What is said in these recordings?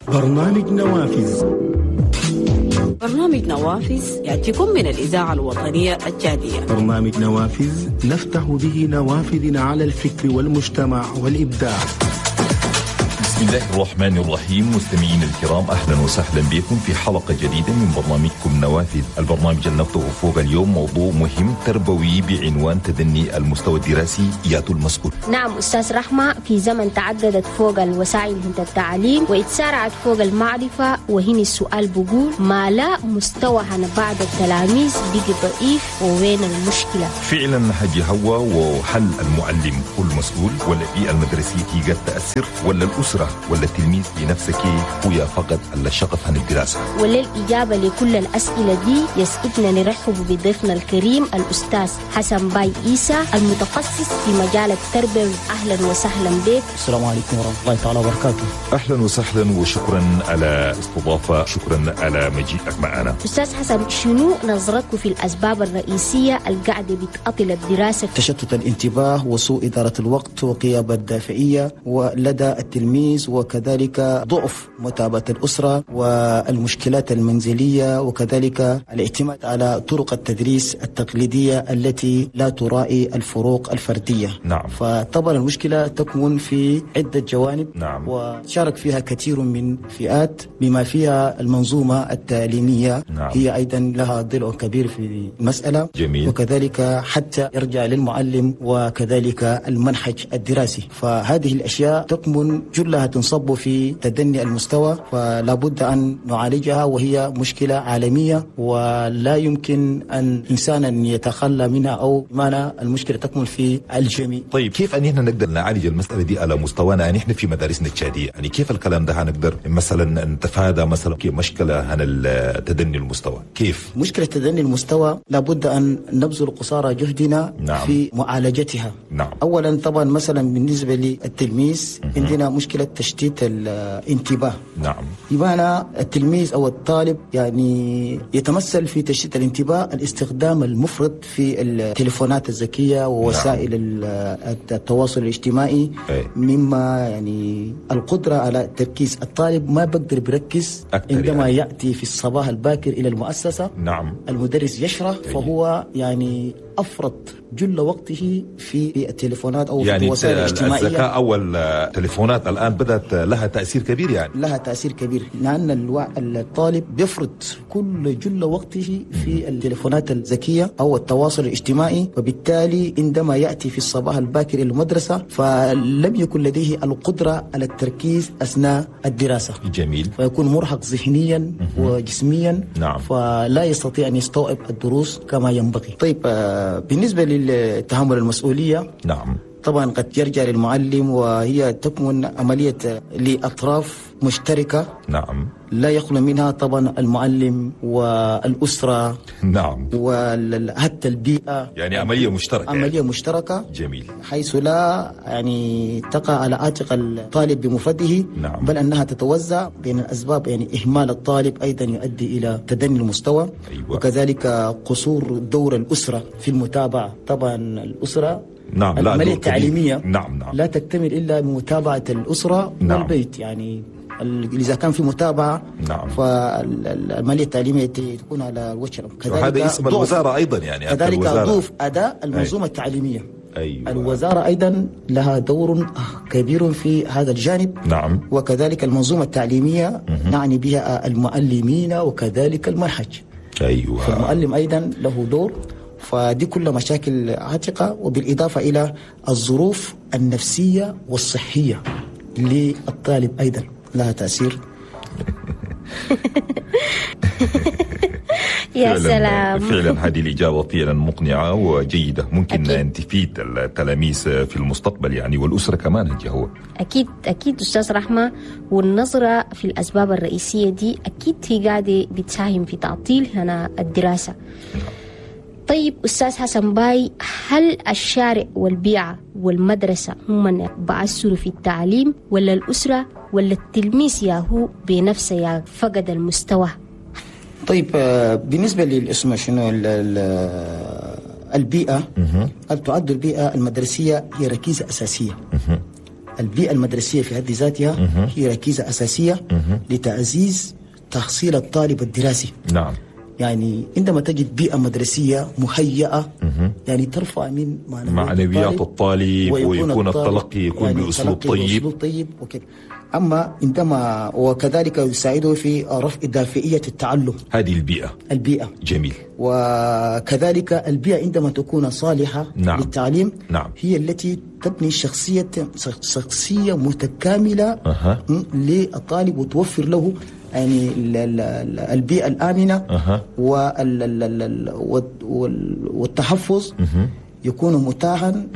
برنامج نوافذ. برنامج نوافذ يأتيكم من الإذاعة الوطنية التشادية. برنامج نوافذ نفتح به نوافذنا على الفكر والمجتمع والإبداع. بسم الله الرحمن الرحيم. مستمعين الكرام، اهلا وسهلا بكم في حلقة جديدة من برنامجكم نوافذ. البرنامج اللي نفتحه فوق اليوم موضوع مهم تربوي بعنوان تدني المستوى الدراسي ياتو المسؤول. نعم أستاذ رحمة، في زمن تعددت فوق الوسائل التعليم واتسارعت فوق المعرفة، وهنا السؤال بقول ما لا مستوى عن بعض التلاميذ بقي ضعيف، ووين المشكلة؟ فعلا حاجي هو، وهل المعلم هو المسؤول ولا البيئة المدرسية هي قد تاثر ولا الاسرة ولا التلميذ بنفسك هو فقد الشغف عن الدراسة؟ وللإجابة لكل الأسئلة دي يسعدنا نرحب بضيفنا الكريم الأستاذ حسن باي إيسى المتخصص في مجال التربية. أهلا وسهلا بك. السلام عليكم ورحمة الله تعالى وبركاته. أهلا وسهلا وشكرا على استضافة، شكرا على مجيئك معنا. أستاذ حسن، شنو نظرتك في الأسباب الرئيسية القاعدة بتعطل الدراسة؟ تشتت الانتباه وسوء إدارة الوقت وغياب الدافعية ولدى التلميذ، وكذلك ضعف متابعة الأسرة والمشكلات المنزلية، وكذلك الاعتماد على طرق التدريس التقليدية التي لا تراعي الفروق الفردية. نعم. فطبعا المشكلة تكمن في عدة جوانب. نعم. وشارك فيها كثير من فئات بما فيها المنظومة التعليمية. نعم. هي أيضا لها ضلع كبير في المسألة. جميل. وكذلك حتى يرجع للمعلم وكذلك المنهج الدراسي. فهذه الأشياء تكمن جلها تنصب في تدني المستوى، فلا بد أن نعالجها، وهي مشكلة عالمية ولا يمكن أن إنسانا يتخلى منها، أو بمعنى المشكلة تكمن في الجميع. طيب كيف أن احنا نقدر نعالج المسألة دي على مستوانا نحن في مدارسنا التشادية؟ يعني كيف الكلام ده هنقدر مثلا نتفادى مثلا مشكلة عن تدني المستوى؟ كيف؟ مشكلة تدني المستوى لابد أن نبذل قصارى جهدنا. نعم. في معالجتها. نعم. أولا طبعا مثلا بالنسبة للتلميذ عندنا مشكلة تشتيت الانتباه. نعم. بمعنى التلميذ أو الطالب يعني يتمثل في تشتيت الانتباه الاستخدام المفرط في التليفونات الذكية ووسائل. نعم. التواصل الاجتماعي. أي. مما يعني القدرة على التركيز، الطالب ما بقدر بركز عندما يعني يأتي في الصباح الباكر إلى المؤسسة. نعم. المدرس يشرح. أي. فهو يعني أفرط جل وقته في التليفونات أو يعني في الوسائل الاجتماعية. الذكاء أو التليفونات الآن بدأت لها تأثير كبير، يعني لها تأثير كبير، لأن الطالب بيفرط كل جل وقته في التليفونات الذكية أو التواصل الاجتماعي، وبالتالي عندما يأتي في الصباح الباكر إلى المدرسة فلم يكن لديه القدرة على التركيز أثناء الدراسة. جميل. فيكون مرهق ذهنيا وجسميا. نعم. فلا يستطيع أن يستوعب الدروس كما ينبغي. طيب بالنسبة للتحمل المسؤولية. نعم. طبعا قد يرجع للمعلم، وهي تكمن عملية لأطراف مشتركة. نعم. لا يخلو منها طبعا المعلم والأسرة. نعم. وحتى البيئة، يعني عملية مشتركة. عملية مشتركة. جميل. حيث لا يعني تقع على عاتق الطالب بمفرده. نعم. بل أنها تتوزع بين الأسباب، يعني إهمال الطالب أيضا يؤدي إلى تدني المستوى. أيوة. وكذلك قصور دور الأسرة في المتابعة. طبعا الأسرة. نعم. العملية التعليمية. نعم. نعم. لا تكتمل إلا بمتابعة الأسرة. نعم. والبيت، يعني إذا كان في متابعة. نعم. فالعملية التعليمية تكون على الوجه. وهذا اسم الوزارة أيضا، يعني كذلك ضعف أداء المنظومة. أي. التعليمية. أيوة. الوزارة أيضا لها دور كبير في هذا الجانب. نعم. وكذلك المنظومة التعليمية نعني بها المعلمين وكذلك المنهج. أيوة. فالمعلم أيضا له دور. فدي كل مشاكل عاتقة، وبالإضافة إلى الظروف النفسية والصحية للطالب أيضا لها تأثير. يا سلام. فعلا هذه الإجابة فعلا مقنعة وجيدة، ممكن أكيد أن تفيد التلاميذ في المستقبل يعني، والأسرة كمان. هو أكيد أكيد أستاذ رحمة، والنظرة في الأسباب الرئيسية دي أكيد هي قاعدة بتساهم في تعطيل هنا الدراسة. طيب أستاذ حسن باي، هل الشارع والبيئة والمدرسة هم من بأثروا في التعليم، ولا الأسرة، ولا التلميذ ياهو بنفسه يا فقد المستوى؟ طيب بالنسبة للاسم شنو البيئة، تعد البيئة المدرسية هي ركيزة أساسية. البيئة المدرسية في حد ذاتها هي ركيزة أساسية لتعزيز تحصيل الطالب الدراسي. نعم. يعني عندما تجد بيئة مدرسية مهيئة يعني ترفع من معنويات الطالب ويكون التلقي يكون يعني بأسلوب طيب. بأسلوب طيب وكذا. أما عندما وكذلك يساعده في رفع دافعية التعلم. هذه البيئة. البيئة. جميل. وكذلك البيئة عندما تكون صالحة نعم. للتعليم نعم. هي التي تبني شخصية متكاملة للطالب وتوفر له يعني البيئة الآمنة والتحفظ يكون متاحا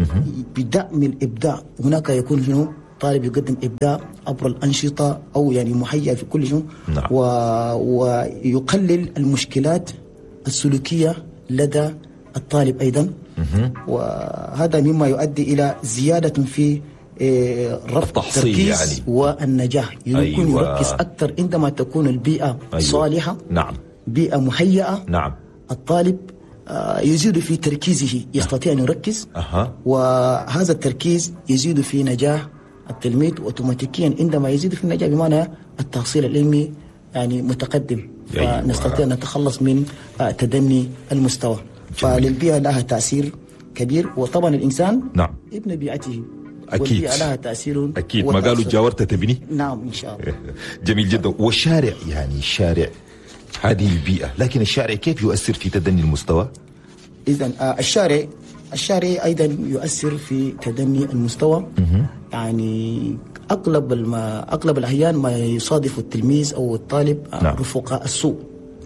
بدعم الإبداع. هناك يكون شنو طالب يقدم إبداع عبر الأنشطة أو يعني مهيئ في كل شيء. نعم. ويقلل المشكلات السلوكية لدى الطالب أيضا. وهذا مما يؤدي إلى زيادة في رفع التركيز يعني. والنجاح. يكون أيوة. يركز أكثر عندما تكون البيئة أيوة. صالحة. نعم. بيئة مهيئة. نعم. الطالب يزيد في تركيزه، يستطيع أن يركز. وهذا التركيز يزيد في نجاح التلميذ أوتوماتيكيا. عندما يزيد في النجاح بمعنى التحصيل العلمي يعني متقدم. أيوة. فنستطيع أن نتخلص من تدني المستوى. فللبيئة لها تأثير كبير. وطبعا الإنسان نعم. ابن بيئته. أكيد. والبيئة لها تأثير. أكيد. ما قالوا جاورت تبني. نعم إن شاء الله. جميل جدا. والشارع يعني الشارع هذه البيئة، لكن الشارع كيف يؤثر في تدني المستوى؟ إذن الشارع أيضا يؤثر في تدني المستوى. يعني أغلب الأحيان ما يصادف التلميذ أو الطالب نعم. رفقاء السوء.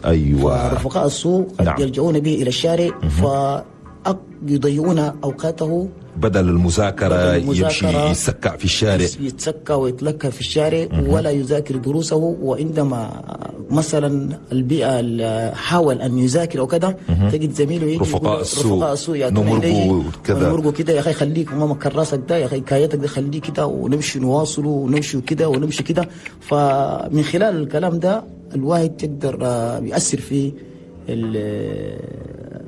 أيوة. رفقاء السوء قد نعم. يلجؤون به إلى الشارع فيضيعون أوقاته. بدل المذاكرة يمشي يتسكع في الشارع، يتسكع ويتلكى في الشارع ولا يذاكر دروسه. وعندما مثلا البيئة حاول أن يذاكر أو كذا تجد زميله يجي رفقاء السوء نمرقوا كذا نمرقوا كده، يا أخي خليك ماما كراسك ده، يا أخي كايتك ده خليك كده، ونمشي نواصله ونمشي كده ونمشي كده. فمن خلال الكلام ده الواحد يقدر يؤثر في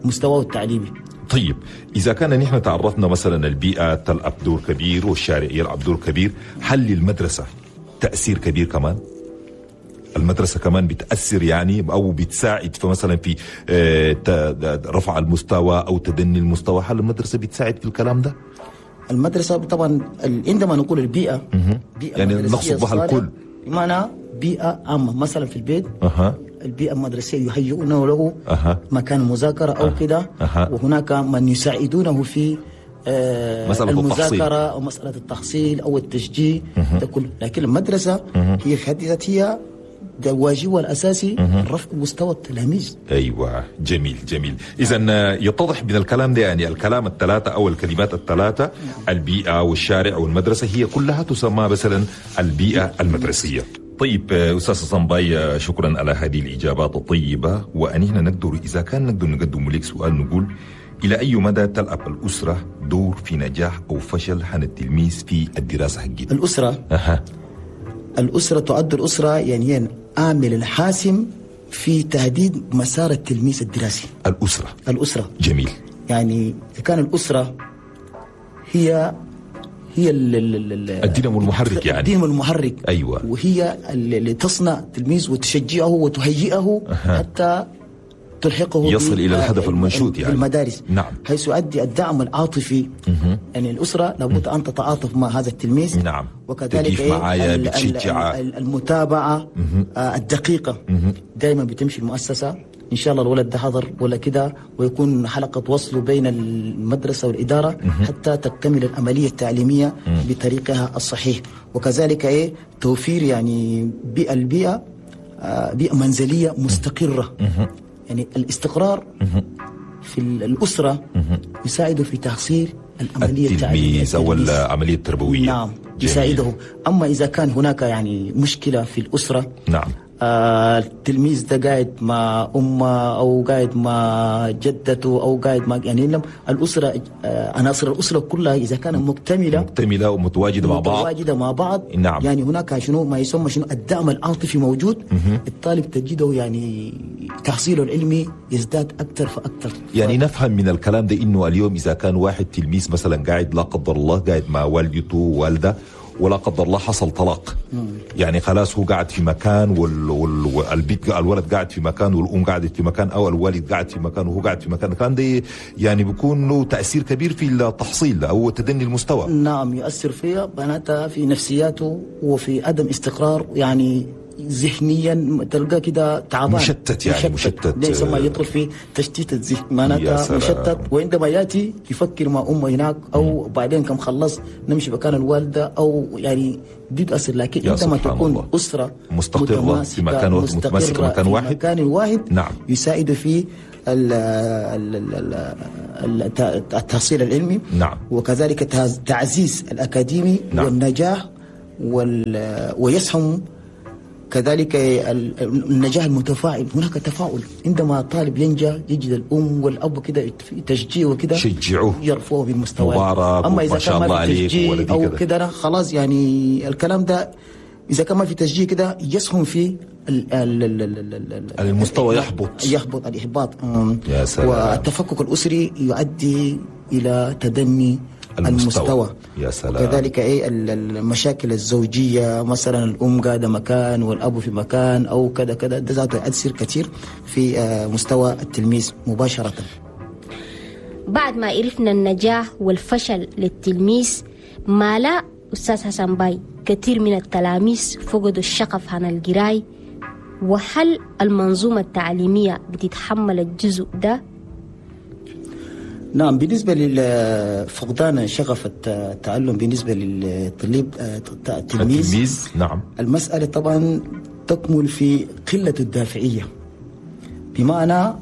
مستواه التعليمي. طيب إذا كان نحن تعرفنا مثلا البيئة تلعب دور كبير والشارع يلعب دور كبير، هل للمدرسة تأثير كبير كمان؟ المدرسة كمان بتأثر يعني أو بتساعد في مثلا في رفع المستوى أو تدني المستوى، هل المدرسة بتساعد في الكلام ده؟ المدرسة طبعا عندما نقول البيئة بيئة يعني نقصد بها الكل، بمعنى بيئة عامة. مثلا في البيت البيئة المدرسية يهيئون له مكان مذاكرة أو كده، وهناك من يساعدونه في مسألة المذاكرة أو مسألة التحصيل أو التشجيع ده كله. لكن المدرسة هي في حد ذاتها ده واجبها الأساسي رفع مستوى التلاميذ. أيوة. جميل جميل. إذا يتضح من الكلام ده يعني الكلام الثلاثة أو الكلمات الثلاثة، البيئة والشارع والمدرسة، هي كلها تسمى مثلا البيئة المدرسية. طيب أستاذ حسن باي، شكرا على هذه الإجابات الطيبة. وأن نقدر إذا كان نقدر نقدم لك سؤال نقول إلى أي مدى تلعب الأسرة دور في نجاح أو فشل عن التلميذ في الدراسة حقته؟ الأسرة الأسرة تعد الأسرة يعني هي العامل الحاسم في تهديد مسار التلميذ الدراسي. الأسرة. جميل. يعني كان الأسرة هي الدينامو المحرك، يعني الدينامو المحرك. أيوة. وهي اللي تصنع التلميذ وتشجعه وتهيئه حتى تلحقه يصل إلى الهدف المنشود يعني المدارس. نعم. حيث يؤدي الدعم العاطفي. يعني الأسرة لابد أن تتعاطف مع هذا التلميذ. نعم. وكذلك معايا المتابعة الدقيقة. دائما بتمشي المؤسسة إن شاء الله الولد ده حضر ولا كده، ويكون حلقة وصله بين المدرسة والإدارة حتى تكتمل العملية التعليمية بطريقها الصحيح. وكذلك توفير يعني البيئة بيئة منزلية مستقرة. يعني الاستقرار في الأسرة يساعد في تحصيل العملية التعليمية أو العملية التربوية. نعم. يساعده. أما إذا كان هناك يعني مشكلة في الأسرة، نعم، التلميذ ده قاعد مع أمه أو قاعد مع جدته أو قاعد مع يعني الأسرة، عناصر الأسرة كلها إذا كانت مكتملة ومتواجدة مع بعض، متواجدة مع بعض. نعم. يعني هناك شنو ما يسمى شنو الدعم العاطفي موجود. الطالب تجده يعني تحصيله العلمي يزداد أكثر فأكثر. يعني نفهم من الكلام ده إنه اليوم إذا كان واحد تلميذ مثلا قاعد لا قدر الله قاعد مع والدته ووالده ولا قدر الله حصل طلاق، يعني خلاص هو قاعد في مكان والبيت الولد قاعد في مكان والام قاعدة في مكان او الوالد قاعد في مكان وهو قاعد في مكان، كان ده يعني بيكون له تاثير كبير في التحصيل او تدني المستوى. نعم، يؤثر فيها بناتها في نفسياته وفي عدم استقرار، يعني ذهنيا تلقى كده تعبان مشتت، يعني مشتت، ليس ما يدخل في تشتيت الذهن، معناتها مشتت. وعندما ياتي يفكر مع امه هناك او بعدين كم خلص نمشي مكان الوالدة او يعني دي تاثر. لكن عندما تكون الله اسره مستقره في مكان متماسكة مكان واحد، مكان واحد، نعم، يساعد في التحصيل العلمي، نعم، وكذلك تعزيز الاكاديمي، نعم، والنجاح ويسهم كذلك النجاح المتفاعل. هناك تفاعل عندما طالب ينجح يجد الأم والأب كده تشجيع وكده شجعوه يرفعوه بالمستوى. مبارك، أما إذا كان ما في تشجيع أو كده خلاص، يعني الكلام ده إذا كان ما في تشجيع كده يسهم في المستوى يحبط الإحباط. يا سلام. والتفكك الأسري يؤدي إلى تدني المستوى. يا سلام. كذلك ايه المشاكل الزوجية، مثلا الام قاعدة مكان والاب في مكان او كذا كذا، ده ذاته يؤثر كثير في مستوى التلميذ مباشرة. بعد ما عرفنا النجاح والفشل للتلميذ، ما لا استاذ حسن باي كثير من التلاميذ فقدوا الشغف عن القراية، وهل المنظومة التعليمية بتتحمل الجزء ده؟ نعم، بالنسبة لفقدان شغف التعلم بالنسبة للطلاب التلميذ، نعم، المسألة طبعا تكمن في قلة الدافعية، بمعنى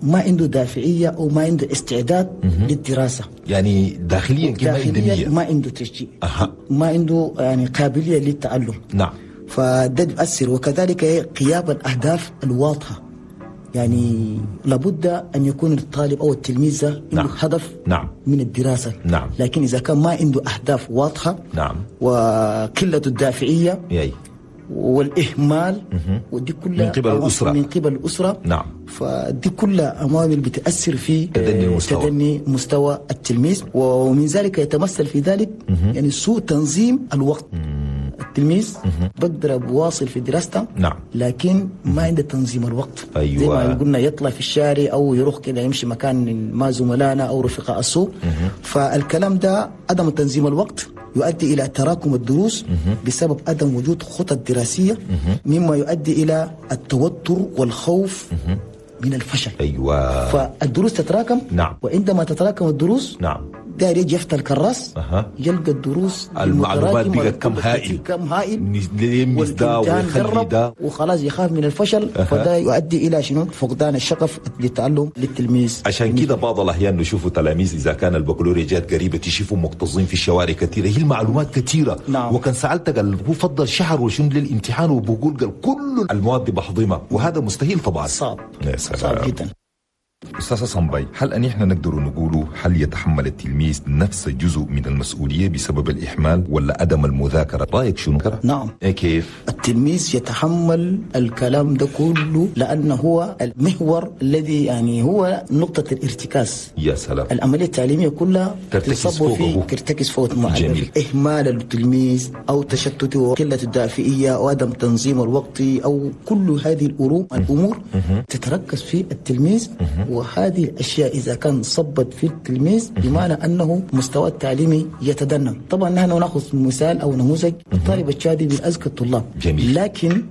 ما عنده دافعية أو ما عنده استعداد للدراسة، يعني داخليا ما عنده تشجيع، ما عنده يعني قابلية للتعلم، نعم، فده يؤثر. وكذلك غياب الأهداف الواضحة، يعني لابد أن يكون الطالب أو التلميذ عنده، نعم، هدف، نعم، من الدراسة، نعم، لكن إذا كان ما عنده أهداف واضحة، نعم، وقلة الدافعية والإهمال، ودي كلها من قبل الأسرة، نعم، فدي كلها عوامل بتأثر في تدني مستوى التلميذ. ومن ذلك يتمثل في ذلك يعني سوء تنظيم الوقت. التلميذ بقدر بواصل في دراسته، نعم، لكن ما عنده تنظيم الوقت. أيوة. زي ما قلنا يطلع في الشارع او يروح كده يمشي مكان ما زملائنا او رفقاء السوق. فالكلام ده عدم تنظيم الوقت يؤدي الى تراكم الدروس بسبب عدم وجود خطط دراسية، مما يؤدي الى التوتر والخوف من الفشل. أيوة. فالدروس تتراكم، نعم، وعندما تتراكم الدروس، نعم، داير يجي يفتح الكراس، يلقى الدروس المعلومات بقت كم هائل، يلمس ده ويخلي ده وخلاص يخاف من الفشل. فده يؤدي الى شنو؟ فقدان الشغف للتعلم للتلميذ. عشان كده بعض الاحيان نشوفوا تلاميذ اذا كان البكالوريا جات قريبه تشوفوا مكتظين في الشوارع كثيرة، هي المعلومات كثيرة، نعم، وكان سالتك قال هو فضل شهر وشنو للامتحان وبقول قال كل المواد بحضمها، وهذا مستحيل طبعا، صعب، صعب جدا. أستاذ حسن باي، هل أن إحنا نقدر نقوله هل يتحمل التلميذ نفس جزء من المسؤولية بسبب الإهمال ولا عدم المذاكرة؟ رأيك شنو؟ نعم. إيه كيف؟ التلميذ يتحمل الكلام ده كله لأنه هو المحور الذي يعني هو نقطة الارتكاز. يا سلام. العملية التعليمية كلها ترتكز فوقه. ترتكز فوق المعلم. جميل. إهمال التلميذ أو تشتته وقلة الدافئية وعدم تنظيم الوقت أو كل هذه الأمور تتركز في التلميذ. وهذه الأشياء إذا كان صبت في التلميذ بمعنى أنه مستوى التعليمي يتدنى. طبعا نحن نأخذ مثال أو نموذج الطالب التشادي من أذكى الطلاب، جميل، لكن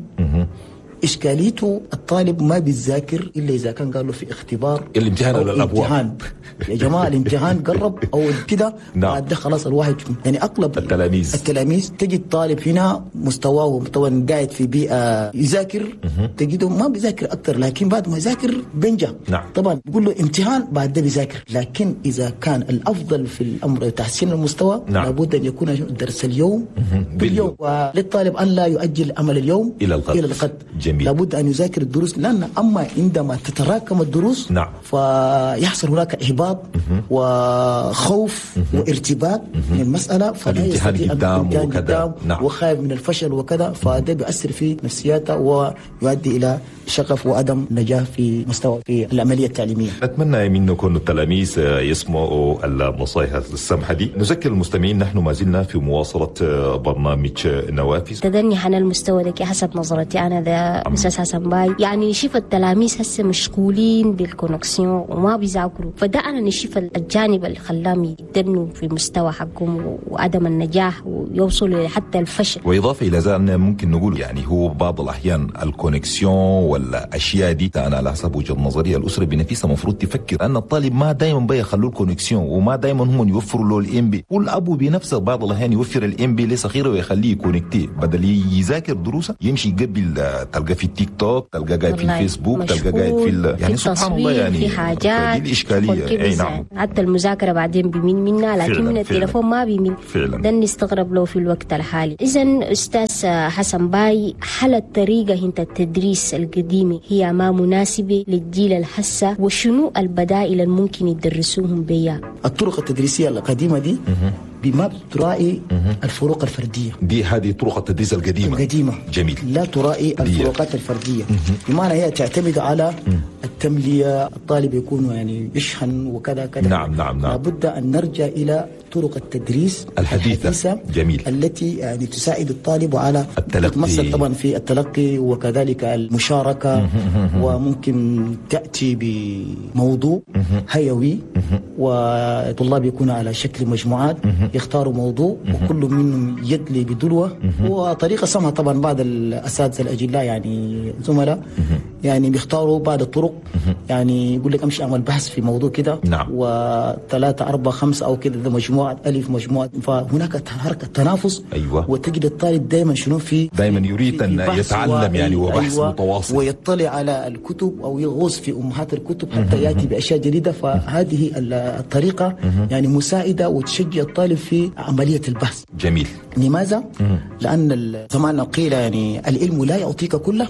إشكاليته الطالب ما بيذاكر إلا إذا كان قالوا في اختبار الامتحان على الأبواب. يا جماعة الامتحان قرب أو كده، نعم، بعد ده خلاص الواحد يعني أغلب التلاميذ تجد طالب هنا مستواه طبعا قاعد في بيئة يذاكر، تجده ما بيذاكر أكثر، لكن بعد ما يذاكر بينجح، نعم، طبعا بيقول له امتحان بعد ده بيذاكر. لكن إذا كان الأفضل في الأمر تحسين المستوى، نعم، لابد أن يكون درس اليوم باليوم، وللطالب أن لا يؤجل عمل اليوم إلى الغد. جميل. لابد أن يذاكر الدروس، لأن أما عندما تتراكم الدروس نعم. فيحصل هناك إحباط وخوف وارتباك من المسألة، فلا يستطيع الامتحان نعم. وخايف من الفشل وكذا، فده بيأثر في نفسياته ويؤدي إلى شغف وعدم نجاح في مستوى في العملية التعليمية. نتمنى منكم التلاميذ يسمعوا النصائح السمحة دي. نذكر المستمعين نحن ما زلنا في مواصلة برنامج نوافذ. تدني عن المستوى ده حسب نظرتي أنا ده أستاذ حسن باي، يعني نشوف التلاميذ هسه مشغولين بال connexion وما بيذاكروا، فده أنا نشوف الجانب اللي خلاهم يدنوا في مستوى حقهم وعدم النجاح ويوصلوا حتى الفشل. وإضافة إلى ذلك ممكن نقول يعني هو بعض الأحيان ال connexion ولا أشياء دي، أنا على حسب وجهة نظري الأسرة بنفسها المفروض تفكر أن الطالب ما دائما بيخلوا ال connexion وما دائما هم يوفروا له ال MB، والأبو بنفسه بعض الأحيان يوفر ال MB لصغيره ويخليه ي connecter بدل يذاكر دروسه يمشي قبل تلقى في التيك توك، تلقى قاعد في الفيسبوك، تلقى قاعد في يعني سبحان الله، يعني في حاجات دي الإشكالية. أي نعم، حتى المذاكرة بعدين بيميل منها، لكن من التليفون ما بيميل فعلا. ده نستغرب له في الوقت الحالي. إذا أستاذ حسن باي، هل الطريقة انت التدريس القديمة هي ما مناسبة للجيل الحسة، وشنو البدائل الممكن يدرسوهم بيها؟ الطرق التدريسية القديمة دي بما تراعي الفروق الفردية، دي هذه طرق التدريس القديمة. جميل. لا تراعي الفروقات الفردية، بمعنى هي تعتمد على التملية، الطالب يكون يعني يشحن وكذا كذا. نعم نعم نعم. لابد أن نرجع إلى طرق التدريس الحديثة. جميل. التي يعني تساعد الطالب على التلقي، تتمثل طبعا في التلقي وكذلك المشاركة، وممكن تأتي بموضوع هيوي وطلاب يكونوا على شكل مجموعات يختاروا موضوع وكل منهم يدلي بدلوة، وطريقة سمها طبعا بعض الأساتذة الأجلاء يعني زملاء يعني بيختاروا بعض الطرق، يعني يقول لك امشي اعمل بحث في موضوع كده، نعم. وثلاثة أربعة خمسة أو كده، ده مجموعة ألف مجموعة، فهناك حركة تنافس. أيوة. وتجد الطالب دائما شنو في دائما يريد أن يتعلم يعني، وبحث أيوة. متواصل، ويطلع على الكتب أو يغوص في أمهات الكتب حتى يأتي بأشياء جديدة. فهذه الطريقة يعني مساعدة وتشجع الطالب في عملية البحث. جميل. لماذا؟ لأن زمان قيل يعني العلم لا يعطيك كله،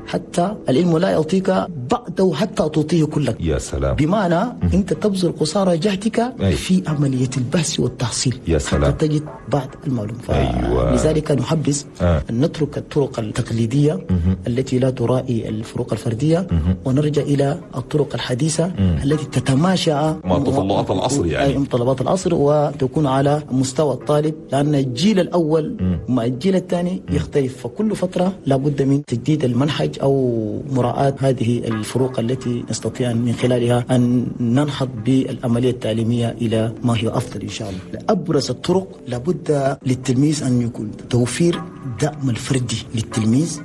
حتى العلم لا يعطيك بعده حتى تعطيه كلك. يا سلام. بمعنى أنت تبذل قصارى جهدك في عملية البحث والتحصيل. يا سلام. حتى تجد بعض المعلومة. أيوة. لذلك نحبذ أن نترك الطرق التقليدية التي لا تراعي الفروق الفردية، ونرجع إلى الطرق الحديثة التي تتماشى مع تطلعات العصر، يعني متطلبات العصر، وتكون على مستوى الطالب، لأن الجيل الأول مع الجيل الثاني يختلف، فكل فترة لابد من تجديد المنهج أو مراعاة هذه الفروق التي نستطيع من خلالها أن ننهض بالعملية التعليمية إلى ما هي أفضل إن شاء الله. أبرز الطرق لابد للتلميذ أن يكون توفير دعم الفردي للتلميذ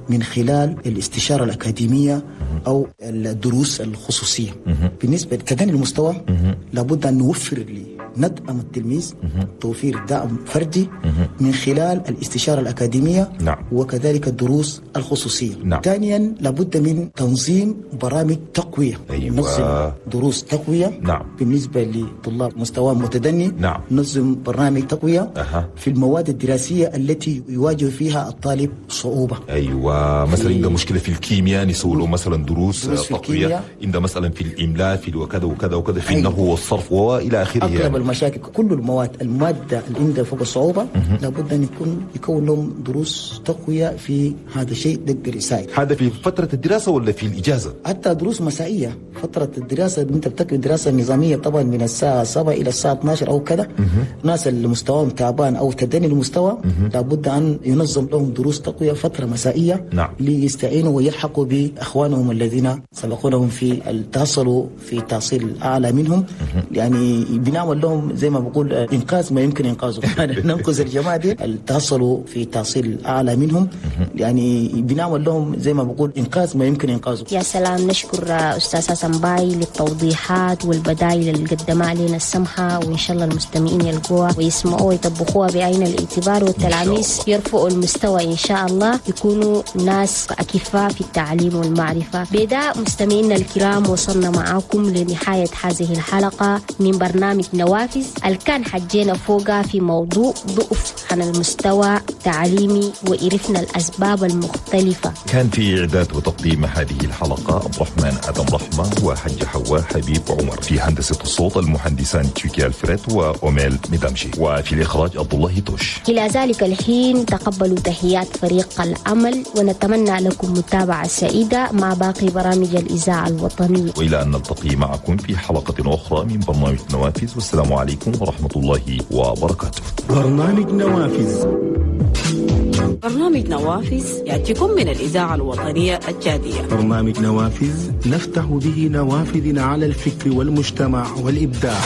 من خلال الاستشارة الأكاديمية أو الدروس الخصوصية. بالنسبة لتدني المستوى لابد أن نوفر ندعم التلميذ توفير دعم فردي من خلال الاستشارة الأكاديمية، نعم. وكذلك الدروس الخصوصية. نعم. ثانيا لابد من تنظيم برامج تقوية. أيوة. نظم دروس تقوية. نعم. بالنسبة لطلاب مستوى متدني، نعم. نظم برنامج تقوية في المواد الدراسية التي يواجه فيها الطالب صعوبة. أيوة. مثلا عنده مشكلة في الكيمياء نسوي له مثلا دروس تقوية، عنده مثلا في الإملاء في وكذا وكذا وكذا، في النحو والصرف وإلى آخره. أغلب يعني المشاكل كل المواد، المادة اللي عندها فوق الصعوبة لابد أن يكون لهم دروس تقوية في هذا الشيء تقدر يساعد. هذا في فترة الدراسة ولا في الإجازة؟ حتى دروس مسائية. فترة الدراسة أنت بتكتب دراسة نظامية طبعا من الساعة 7 إلى الساعة 12 أو كذا. ناس اللي مستواهم تعبان أو تدني المستوى لابد أن ينظم لهم دروس تقوية فترة مسائية، نعم. ليستعينوا ويلحقوا بأخوانهم الذين سبقونهم في التحصلوا في تحصيل أعلى منهم. يعني بنعمل لهم زي ما بقول إنقاذ ما يمكن إنقاذه. ننقذ الجماعة دي التحصلوا في تحصيل أعلى منهم، يعني بنعمل لهم زي ما بقول إنقاذ ما يمكن إنقاذه. يا سلام. نشكر أستاذ حسن باي للتوضيحات والبدائل اللي قدمها علينا السمحة، وإن شاء الله المستمعين يلقوها ويسمعوها ويطبقوها بعين الاعتبار، والتلاميذ يرفعوا المستوى إن شاء الله، يكونوا ناس أكفاء في التعليم والمعرفة. بدا مستمعينا الكرام وصلنا معاكم لنهاية هذه الحلقة من برنامج نوافذ. نوافذ الكان حجينا فوقها في موضوع ضعف عن المستوى التعليمي وعرفنا الأسباب المختلفة. كان في إعداد وتقديم هذه الحلقة عبد الرحمن آدم رحمة وحج حواء حبيب عمر، في هندسة الصوت المهندسان تشيكي الفريد وأوميل مدامشي، وفي الإخراج عبد الله توش. إلى ذلك الحين تقبلوا تحيات فريق العمل، ونتمنى لكم متابعة سعيدة مع باقي برامج الإذاعة الوطنية. وإلى أن نلتقي معكم في حلقة أخرى من برنامج نوافذ، والسلام عليكم ورحمة الله وبركاته. برنامج نوافذ. برنامج نوافذ يأتيكم من الإذاعة الوطنية التشادية. برنامج نوافذ نفتح به نوافذنا على الفكر والمجتمع والإبداع.